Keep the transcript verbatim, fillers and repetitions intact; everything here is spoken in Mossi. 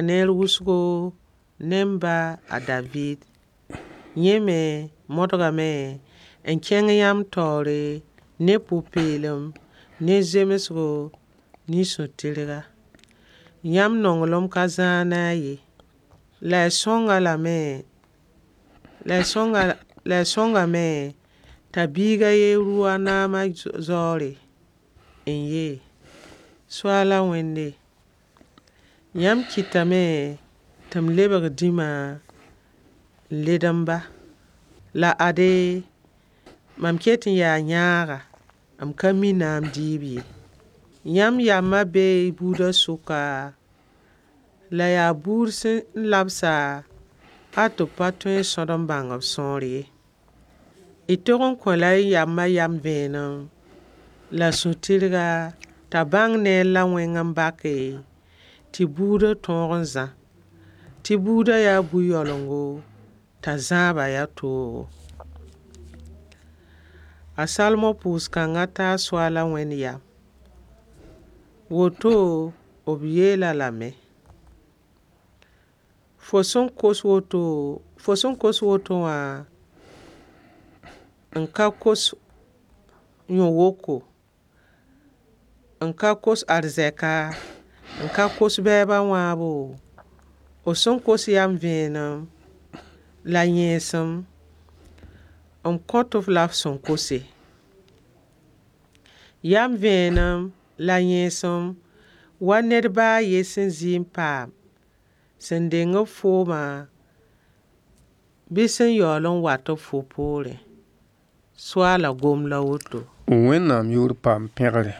Neer wʋsgo ne m ba a Daviid. Yẽ me modgame n kẽng yãmb taoore ne pʋ-peelem, ne zemsgo, ne sũ-tɩrga. Yãmb nonglem ka zãag ne a ye. La y sõng-a lame, la y sõnga, la y sõngame t'a biiga ye rʋ a naamã zaoore n yee. Soaala Wẽnde, yãmb kɩtame tɩ m lebg dĩma n led m ba. La ade, mam ket n yaa yãaga, m ka mi naam dɩɩb ye. Yãmb yamma bee y buudã sʋka, la yaa buud sẽn labsa hal tɩ b pa tõe n sõd n bãng b sõor ye. Y tog n kõ-la y yamma yam vẽenem la sũ-tɩrga t'a bãng neer la wẽng n bake tɩ buudã tõog n zã. Tɩ buudã yaa bu-yaoolgo, t'a zãabã yaa toogo. A Salomo pʋʋs-kãngã taa Soaala Wẽnd yam. Woto b yeel-a lame: Fo sẽn kos woto, fo sẽn kos woto wã n ka kos yõ-woko, n ka kos arzɛka, n ka kos bɛɛbã wãabo, f sẽn kos yam vẽenem la yẽesem, m kõt-f la f sẽn kose. Yam vẽenem la yẽesem wa ned ba a yen sẽn zɩ n paam, sẽn deng b foomã bɩ sẽn yaool n wat b fo poorẽ. Soaala gom la woto. Wẽnnaam yʋʋr paam pẽgre.